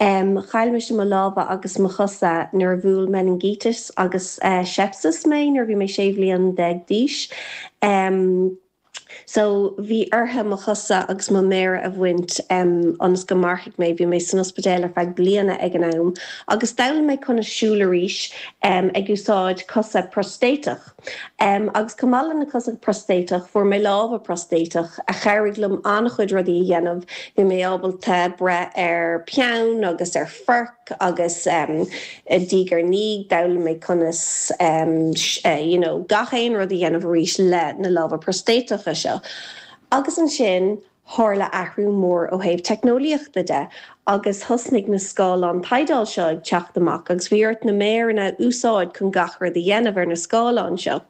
Chaill mise mo lámha agus mo chosa nuair a bhuail meiningíteas agus sepsis mé nuair a bhí mé 16 bhliain d'aois. So bhí orthu mo chosa agus mo mhéara a bhaint ionas go mairfeadh mé. Bhí mé san ospidéal ar feadh bliana ag an am agus d'fhoghlaim mé conas siúl arís ag úsáid cosa prostéiteach. Agus chomh maith le na cosa prostéiteach, fuair mé lámha prostéiteach a chabhraigh liom an-chuid rudaí a dhéanamh. Bhí mé ábalta breith ar peann agus ar forc agus diaidh ar ndiaidh d'fhoghlaim mé conas you know gach aon rud a dhéanamh arís le na lámha prostéiteacha seo. Agus ansin Tharla athrú mór ó thaobh teicneolaíochta de agus thosnaigh na scáileáin tadhaill seo ag teacht amach agus bhí ort na méireanna a úsáid chun gach rud a dhéanamh ar na scáileáin seo.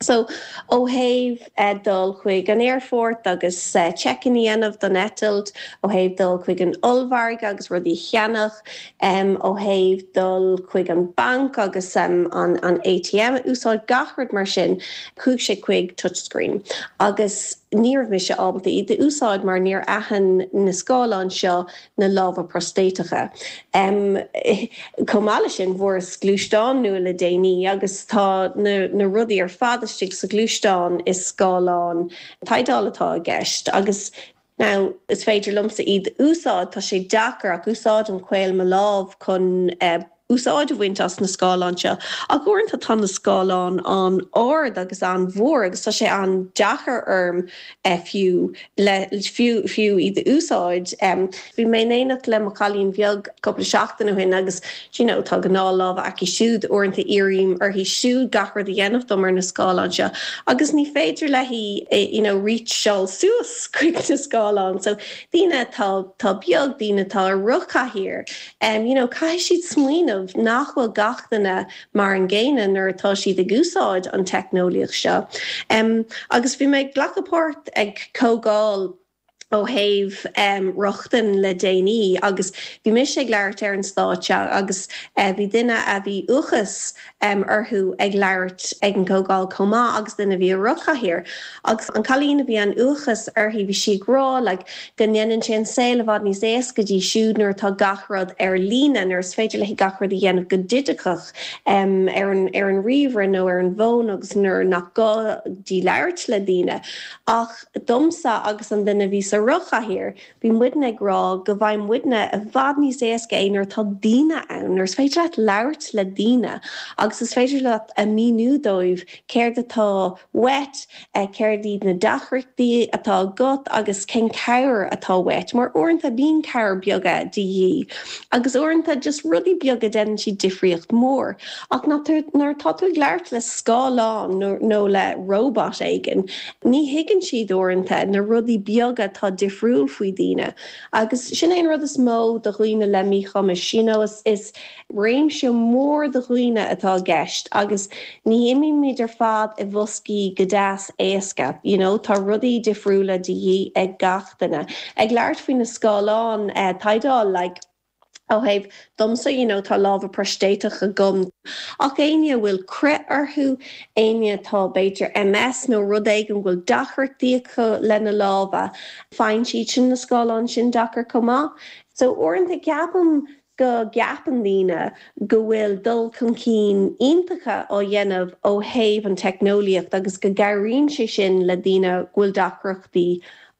So, ó thaobh dul chuig an aerfort agus check-in a dhéanamh don eitilt, ó thaobh dul chuig an ollmhargadh agus rudaí a cheannach, ó thaobh dul chuig an banc agus an ATM a úsáid, gach rud mar sin, chuaigh sé chuig touchscreen agus ní raibh mise ábalta iad a úsáid mar níor aithin na scáileáin seo na lámha prostéiteacha. Chomh maith leis sin, bhfuaireas gluaisteán nua le déanaí agus tá na rudaí ar fad istigh sa ghluaisteán is scáileán tadhaill atá i gceist agus Now, is féidir liomsa iad a úsáid, tá sé deacair ach úsáidim caol mo lámh chun úsáid a bhaint as na scáileáin seo. Ach uaireanta tá na scáileáin an-ard agus an-mhór agus tá sé an-deacair orm fiú le fiú fiú iad a úsáid. Bhí mé in éineacht le mo chailín bheag cúpla seachtain ó shin agus you know tá gnáthlámha aici siúd, uaireanta iarraim uirthi siúd gach rud a dhéanamh dom ar na scáileáin seo agus ní féidir léi you know reacháil suas chuig na scáileáin. So daoine atá atá beag, daoine atá i rothchathaoir, you know caithfidh siad smaoineamh nach bhfuil gach duine mar an gcéanna nuair atá siad ag úsáid an teicneolaíocht seo. Agus bhí mé ag glacadh páirt ag comhdháil ó thaobh rochtain le déanaí agus bhí mise ag labhairt ar an stáitse agus bhí duine a bhí uathachas orthu ag labhairt ag an gcomhdháil chomh maith agus duine a bhí i rothchathaoir. Agus an cailín a bhí an uathachas uirthi bhí sí ag rá like go ndéanann sé an saol i bhfad níos éasca di siúd nuair atá gach rud ar líne, nuair is féidir léi gach rud a dhéanamh go digiteach ar an ar an ríomhaire nó ar an bhfón agus nuair nach gá di labhairt le daoine. Ach domsa agus an duine a bhí sa rothchathaoir, bhí muidne ag rá go bhfaigheann muidne i bhfad níos éasca é nuair atá daoine ann, nuair is féidir leat labhairt le daoine agus is féidir leat a míniú dóibh céard atá uait, céard iad na deacrachtaí atá agat agus cén cabhair atá uait, mar uaireanta bíonn cabhair beaga de dhíth agus uaireanta just rudaí beaga déanann siad difríocht mór. Ach nuair atá tú ag labhairt le scáileán nó le robot éigin, Ní thuigeann siad uaireanta na rudaí beaga atá difriúil faoi daoine agus sin é an rud is mó do dhaoine le míchumais, you know is réimse mór de dhaoine atá i gceist agus ní imímid ar fad i bhoscaí go deas éasca, you know tá rudaí difriúla de dhíth ag gach duine. Ag labhairt faoi na scáileáin tadhaill like, Ó thaobh domsa, you know, tá lámha proistéiteach agam. Ach éinne a bhfuil crith orthu, éinne atá b'fhéidir MS nó rud éigin go bhfuil deacrachtaí acu lena lámha, faigheann siad sin na scáileáin sin deacair chomh maith. So uaireanta ceapaim go gceapann daoine go bhfuil dul chun cinn iontacha á dhéanamh ó thaobh an teicneolaíocht agus go gcabhraíonn sé sin le daoine go bhfuil deacrachtaí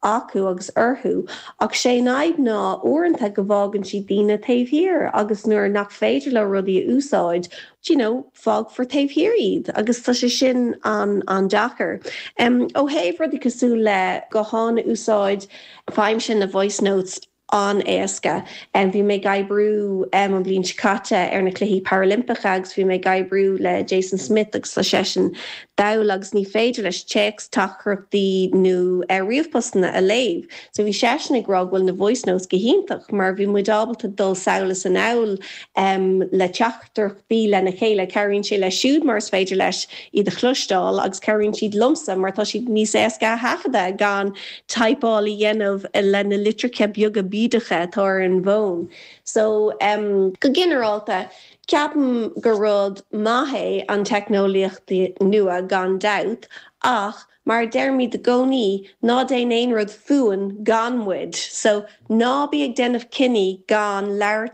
acu agus orthu, ach sé an fhadhb ná uaireanta go bhfágann siad daoine taobh thiar agus nuair nach féidir leo rudaí a úsáid, you know, fágfar taobh thiar iad agus tá sé sin an-deacair. Ó thaobh rudaí cosúil le guthán a úsáid, faighimse na voice notes an-éasca. Bhí mé ag oibriú an bhliain seo caite ar na Cluichí Parailimpeacha agus bhí mé ag oibriú le Jason Smith agus tá seisean dall agus ní féidir leis téacs, teachtaireachtaí nó ríomhphostanna a léamh. So bhí seisean ag rá go bhfuil na voice notes go hiontach mar bhí muid ábalta dul sall is anall le teacht teachtaireachtaí lena chéile. Cabhraíonn sé leis siúd mar is féidir leis iad a chloisteáil agus cabhraíonn siad liomsa mar tá siad níos éasca a thaifeadadh gan typeáil a dhéanamh le na litreacha beaga bídeacha atá ar an bhfón. So, go ginearálta, ceapaim gur rud maith é an teicneolaíocht nua gan dabht ach mar a deirimid i gcónaí, ná déan aon rud fúinn gan muid. So, ná bí ag déanamh cinní gan labhairt.